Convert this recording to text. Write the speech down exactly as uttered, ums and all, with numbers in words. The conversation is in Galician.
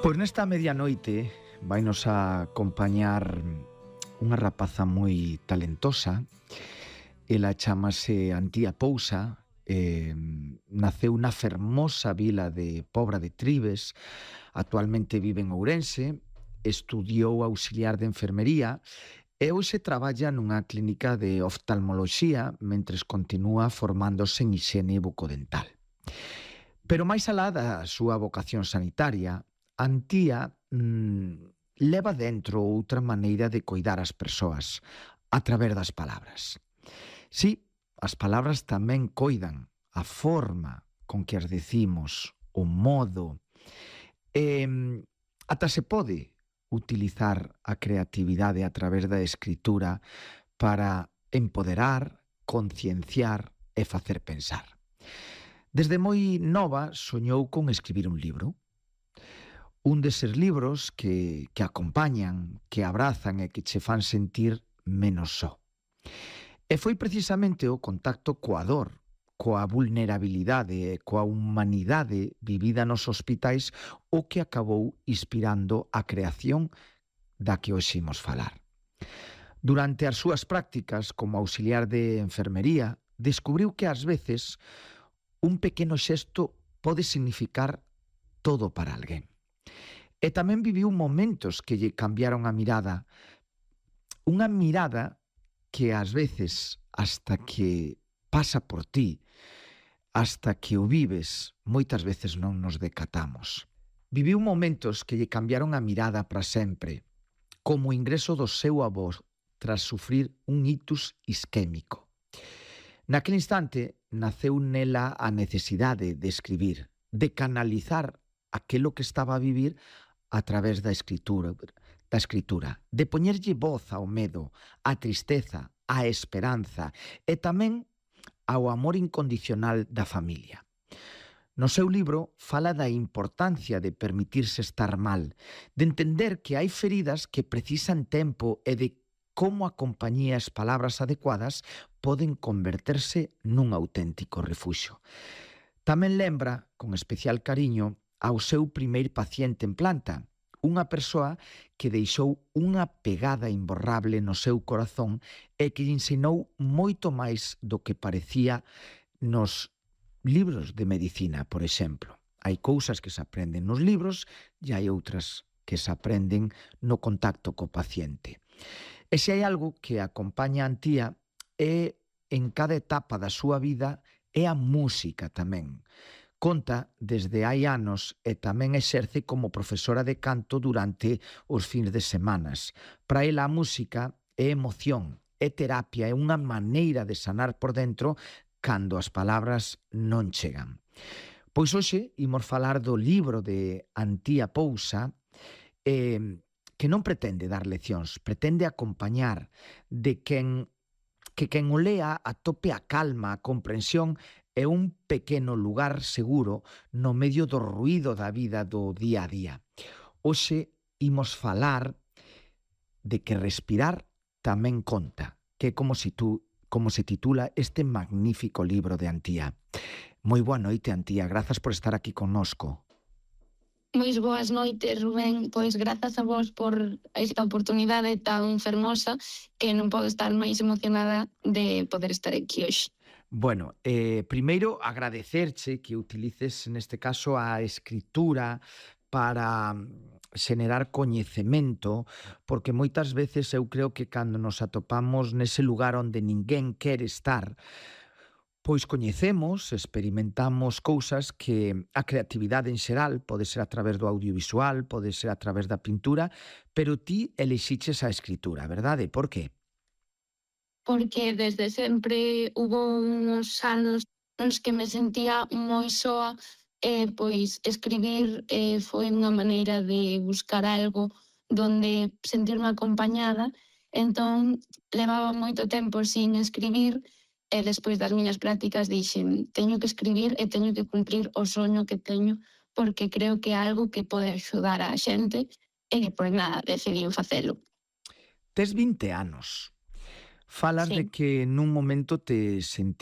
Pois nesta medianoite vainos a acompañar unha rapaza moi talentosa. Ela chamase Antía Pousa, eh, naceu na fermosa vila de Pobra de Tribes, actualmente vive en Ourense, estudiou auxiliar de enfermería e hoxe traballa nunha clínica de oftalmoloxía mentres continúa formándose en hixiene bucodental. Pero máis alá da súa vocación sanitaria, Antía mmm, leva dentro outra maneira de coidar as persoas a través das palabras. Sí, as palabras tamén coidan a forma con que as decimos, o modo, e ata se pode utilizar a creatividade a través da escritura para empoderar, concienciar e facer pensar. Desde moi nova soñou con escribir un libro. Un deses libros que, que acompañan, que abrazan e que che fan sentir menos só. E foi precisamente o contacto coa dor, coa vulnerabilidade e coa humanidade vivida nos hospitais o que acabou inspirando a creación da que hoxe imos falar. Durante as súas prácticas como auxiliar de enfermería, descubriu que ás veces un pequeno xesto pode significar todo para alguén. E tamén viviu momentos que lle cambiaron a mirada, unha mirada que ás veces, hasta que pasa por ti, hasta que o vives, moitas veces non nos decatamos. Viviu momentos que lle cambiaron a mirada para sempre, como o ingreso do seu avó tras sufrir un ictus isquémico. Naquele instante, naceu nela a necesidade de escribir, de canalizar aquilo que estaba a vivir a través da escritura, da escritura, de poñerlle voz ao medo, á tristeza, á esperanza e tamén ao amor incondicional da familia. No seu libro fala da importancia de permitirse estar mal, de entender que hai feridas que precisan tempo e de como a compañía e as palabras adecuadas poden converterse nun auténtico refuxio. Tamén lembra, con especial cariño, ao seu primeiro paciente en planta, unha persoa que deixou unha pegada imborrable no seu corazón e que lle ensinou moito máis do que parecía nos libros de medicina, por exemplo. Hai cousas que se aprenden nos libros e hai outras que se aprenden no contacto co paciente. E se hai algo que acompaña a Antía é, en cada etapa da súa vida, é a música tamén. Conta desde hai anos e tamén exerce como profesora de canto durante os fins de semanas. Para ela a música é emoción, é terapia, é unha maneira de sanar por dentro cando as palabras non chegan. Pois hoxe imos falar do libro de Antía Pousa, eh, que non pretende dar leccións, pretende acompañar, de quen que quen o lea atope a calma, a comprensión e un pequeno lugar seguro no medio do ruído da vida do día a día. Hoxe imos falar de que respirar tamén conta, que é como se, tú, como se titula este magnífico libro de Antía. Moi boa noite, Antía, grazas por estar aquí connosco. Moi boas noites, Rubén. Pois grazas a vos por esta oportunidade tan fermosa que non podo estar máis emocionada de poder estar aquí hoxe. Bueno, eh, primeiro agradecerche que utilices neste caso a escritura para xenerar coñecemento, porque moitas veces eu creo que cando nos atopamos nese lugar onde ninguén quere estar, pois coñecemos, experimentamos cousas que a creatividade en xeral pode ser a través do audiovisual, pode ser a través da pintura, pero ti elixiches a escritura, verdade? Por que? Porque desde sempre hubo uns anos nos que me sentía moi soa e pois escribir eh, foi unha maneira de buscar algo donde sentirme acompañada. Entón levaba moito tempo sin escribir e despois das miñas prácticas dixen teño que escribir e teño que cumprir o soño que teño porque creo que é algo que pode axudar a xente e pois nada, decidín facelo. Tes vinte anos. Falas Sí. de que nun momento te sentí